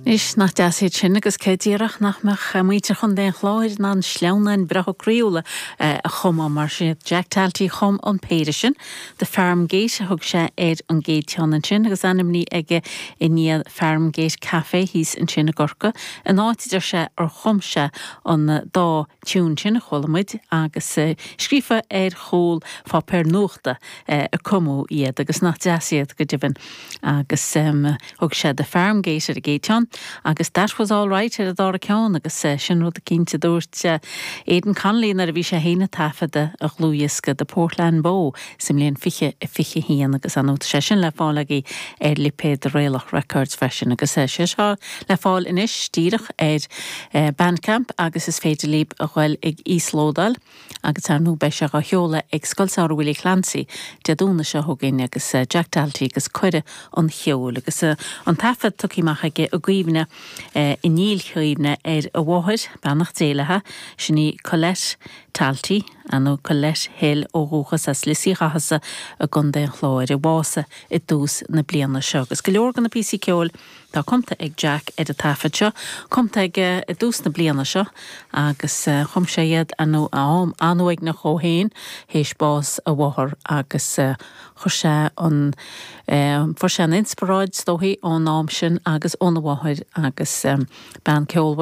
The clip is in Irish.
Anois, nach deas iad sin agus cé déarfadh nach mbeadh muintir Chontae an Chláir in ann sleamhnáin bhreátha croíúla a chumadh mar sin. Jack Talty a chum an péire sin. The Farm Gate a thug sé ar an gcéad cheann ansin agus ainmnithe aige i ndiaidh Farm Gate Café thíos ansin i gCorcaigh, an áit a deir sé ar chum sé an dá tiún sin a chuala muid agus scríofa ar chúl pháipéar nuachta a cumadh iad agus nach deas iad go deimhin agus thug sé The Farm Gate ar an gcéad cheann agus That Was All Right ar an dara ceann agus sin rud eicínt a dúirt Aidan Connolly nuair a bhí sé féin ag taifeadadh a dhlúthdhiosca The Portland Bow sa mbliain 2021 agus ar ndóigh tá sé sin le fáil agaibh ar lipéad Raelach Records freisin agus sé seo le fáil anois díreach ar Bandcamp agus is féidir libh a ghoil ag íoslódáil. Agus ar ndóigh beidh sé dhá sheoladh ag Scoil Samhraidh Willie Clancy Dé Domhnaigh seo chugainn agus Jack Talty agus Cuireadh an Cheoil agus an taifead tugtha amach aige i gcuimhne, i ndílchuimhne ar a mháthair, beannacht Dé léi, sin í Colette Talty, nó Colette Hill ó dhúchas as Lios Uí Chathasaigh i gContae an Chláir, a bhásaigh i dtús na bliana seo. Agus go leor de na píosaí ceoil Tá cumtha ag Jack ar an taifead seo, cumtha aige i dtús na bliana seo agus chum sé iad ar ndóigh am an-uaigneach dhó féin théis bás a mháthar agus chuir sé an, fuair sé an inspioráid is dóichí ón am sin agus óna mháthair agus bean ceolmhar.